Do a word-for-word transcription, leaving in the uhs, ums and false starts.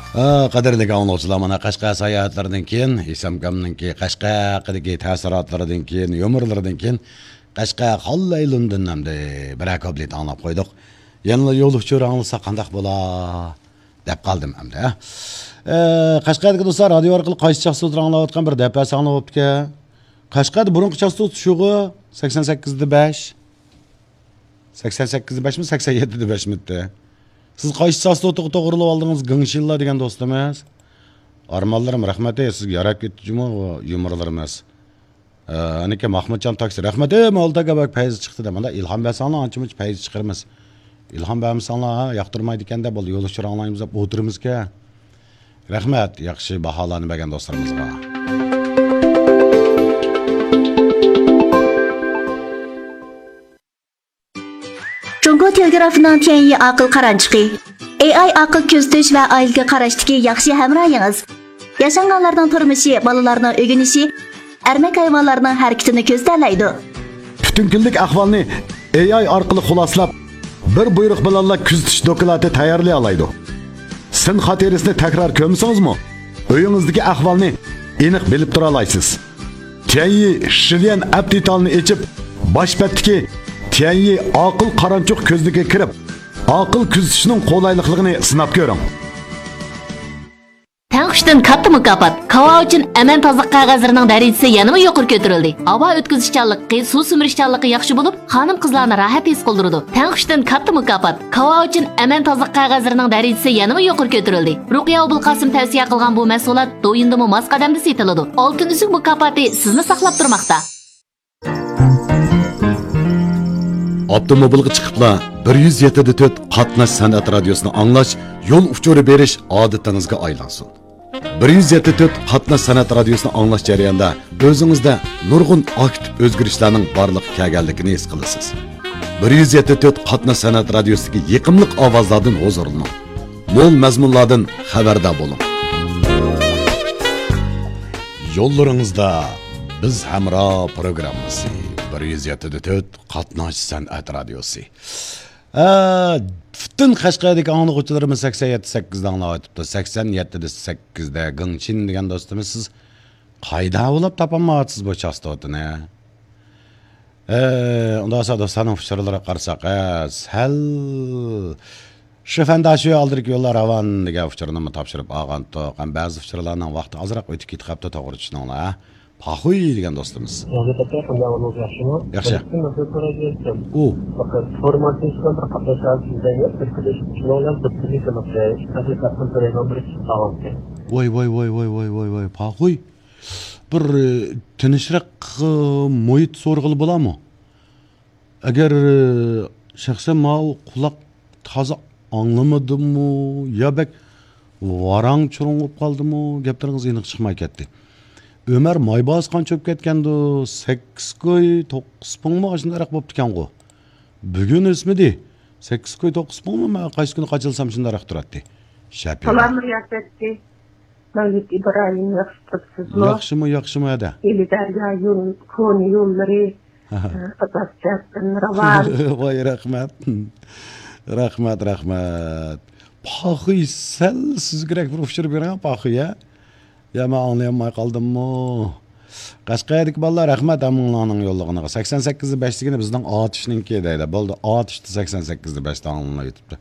ھە، قەدىرلىك ئاڭلىغۇچىلار، مانا قەشقەر ساياھەتلىرىدىن كېيىن، ئىسامكامنىڭكى قەشقەر ھەققىدىكى تەسىراتلىرىدىن كېيىن، يۇمۇرلىرىدىن كېيىن، قەشقەر خاللەيلۇندىن ئەمدى بىرەر كۇپلېت ئاڭلاپ قويدۇق. يەنىلا يول ئۇچۇرى ئاڭلىسا قانداق بولا دەپ قالدىم ئەمدى، ھە. ئە، قەشقەردىكى دوستلار، رادىيو ئارقىلىق قايسى چاستوتا ئاڭلاۋاتقان بىر دەپئەسى ئاڭلاپ بوپتىكەن. قەشقەردە بۇرۇنقى چاستوتا شۇغۇ، سەكسەن سەككىز دە بەش. سەكسەن سەككىز دە بەشمۇ، سەكسەن يەتتە دە بەشمىتى؟ سىز قايسى چاستوتىغا توغرىلىۋالدىڭىز، گېڭشىنلا دېگەن دوستىمىز؟ ئارمانلىرىم، رەھمەت، ئەي، سىزگە ياراپ كەتتى جۇمۇ يۇمۇرلىرىمىز. ئە، ئەنىكى ماخمۇتجان تاكسى، رەھمەت، ئەي، مالتاكا بەك پەيزى چىقتى دە. مانا ئىلھام بەرسەڭلار، ئانچە-مۇنچە پەيزى چىقىرىمىز. ئىلھام بەرمىسەڭلار، ھە، ياقتۇرمايدىكەن دەپ، بولدى، يول ئۇچۇرى ئاڭلايمىز دەپ ئولتۇرىمىزكەن. رەھمەت، ياخشى باھالارنى بەرگەن دوستلىرىمىزغا. جۇڭگو تېلېگرافىنىڭ تيەنيى ئاقىل قارانچۇقى. ئېي ئاي ئاقىل كۆزىتىش ۋە ئائىلىگە قاراشتىكى ياخشى ھەمراھىڭىز. ياشانغانلارنىڭ تۇرمۇشى، بالىلارنىڭ ئۆگىنىشى، ئەرمەك ھايۋانلارنىڭ ھەرىكىتىنى كۆزىتەلەيدۇ. پۈتۈن كۈنلۈك ئەھۋالنى ئېي ئاي ئارقىلىق خۇلاسىلاپ، بىر بۇيرۇق بىلەنلا كۆزىتىش دوكلاتى تەييارلىيالايدۇ. سىن خاتىرىسىنى تەكرار كۆرمىسىڭىزمۇ، ئۆيىڭىزدىكى ئەھۋالنى ئېنىق بىلىپ تۇرالايسىز. تيەنيى شىليەن ئەپ دېتالىنى ئېچىپ، باش بەتتىكى تيەنيى ئاقىل قارانچۇق كۆزنىكىگە كىرىپ، ئاقىل كۆزىتىشنىڭ قولايلىقلىقىنى سىناپ كۆرۈڭ. تەڭ ئۈچتىن كاتتا مۇكاپات. كاۋاۋىچىن ئەمەن تازىلىق قەغەزلىرىنىڭ دەرىجىسى يەنىمۇ يۇقىرى كۆتۈرۈلدى. ھاۋا ئۆتكۈزۈشچانلىقى، سۇ سۈمۈرۈشچانلىقى ياخشى بولۇپ، خانىم-قىزلارنى راھەت ھېس قىلدۇرىدۇ. تەڭ ئۈچتىن كاتتا مۇكاپات. كاۋاۋىچىن ئەمەن تازىلىق قەغەزلىرىنىڭ دەرىجىسى يەنىمۇ يۇقىرى كۆتۈرۈلدى. رۇقىيە ئوبۇلقاسىم تەۋسىيە قىلغان بۇ مەھسۇلات دويىندىمۇ ماس قەدەمدە سېتىلىدۇ. ئالتۇن ئۈزۈك مۇكاپاتى سىزنى ساقلاپ تۇرماقتا. ئاپتوموبىلغا چىقىپلا بىر يۈز يەتتە دە تۆت قاتناش سەنئەت رادىيوسىنى ئاڭلاش، يول ئۇچۇرى بېرىش ئادىتىڭىزگە ئايلانسۇن. بىر يۈز يەتتە تۆت قاتناش سەنئەت رادىيوسىنى ئاڭلاش جەريانىدا ئۆزىڭىزدە نۇرغۇن ئاكتىپ ئۆزگىرىشلەرنىڭ بارلىققا كەلگەنلىكىنى ھېس قىلىسىز. بىر يۈز يەتتە تۆت قاتناش سەنئەت رادىيوسىدىكى يېقىملىق ئاۋازلاردىن ھۇزۇرلىنىڭ. مول مەزمۇنلاردىن خەۋەردار بولۇڭ. يوللىرىڭىزدا بىز ھەمراھ پروگراممىسى. بىر يۈز يەتتە دە تۆت قاتناش سەنئەت رادىيوسى. ئە، پۈتۈن قەشقەردىكى ئاڭلىغۇچىلىرىمىز سەكسەن يەتتە سەككىزدە ئاڭلاۋاتىپتۇ. سەكسەن يەتتە سەككىزدە گېڭشىن دېگەن دوستىمىز، سىز قايدا ئويلاپ تاپالمايۋاتىسىز بۇ چاستوتىنى؟ ئە، ئۇنداق بولسا دوستلارنىڭ ئۇچۇرلىرىغا قارىساق، ئە، سەل شىفەنداشۇ ئالدىدىكى يوللار راۋان دېگەن ئۇچۇرنىمۇ تاپشۇرۇپ ئالغانتۇق. ھەم بەزى ئۇچۇرلارنىڭ ۋاقتى ئازراق ئۆتۈپ كېتىپ قاپتۇ، توغرا چۈشىنىڭلار. پاخۇي دېگەن دوستىمىز. ياغدى تاكا، قانداق ئەھۋالىڭىز، ياخشىمۇ؟ ياخشى. بىر قىسىم مەسىلە سورايدىكەن. ئۇ. فەقەت فورماتىڭىز بىلەن بىر قاتناش ھالىتىدە يوق، بىر كۈنلۈك شۇنىڭ بىلەن بىر كۈنلۈك ئەمەس، ھەقىقەتەن بىر ئاينىڭ بىر ئىككىسى قالغانىكەن. ۋاي، ۋاي، ۋاي، پاخۇي. بىر، ئى، تىنچراق، ئى، مۇھىت سورىغىلى بولامۇ؟ ئەگەر، ئى، شەخسەن ماۋۇ قۇلاق تازا ئاڭلىمىدىمۇ يا بەك ۋاراڭ-چۇرۇڭ بولۇپ قالدىمۇ، گەپلىرىڭىز ئېنىق چىقماي كەتتى. ئۆمەر مايباس قانچە بولۇپ كەتكەندۇ؟ سەككىز كوي، توققۇز پۇڭمۇ ئاشۇنداقراق بوپتىكەنغۇ؟ بۈگۈن ئۆسمىدى. سەككىز كوي، توققۇز پۇڭمۇ؟ مەن قايسى كۈنى قاچىلىسام شۇنداقراق تۇراتتى. شەپىرە. سالام، رىياسەتچى. مەۋلۇت ئىبراھىم، ياخشى تۇرۇپسىزمۇ؟ ياخشىمۇ، ياخشىمۇ، ھەدە. ئىلى دەريا يول، كونا يوللىرى، قاتناش جەھەتتىن راۋان. ۋاي، رەھمەت. رەھمەت، رەھمەت. پاخۇي، سەل سۈزۈكرەك بىر ئۇچۇر بېرىڭ، پاخۇي، ھە؟ يا، مەن ئاڭلىيالماي قالدىممۇ؟ قەشقەردىكى بالىلار، رەھمەت ھەممىڭلارنىڭ يوللىغىنىغا. سەكسەن سەككىز دە بەش دېگىنى بىزنىڭ ئاتۇشنىڭكى دەيدۇ. بولدى، ئاتۇشتا سەكسەن سەككىز دە بەشتە ئاڭلىنىۋېتىپتۇ.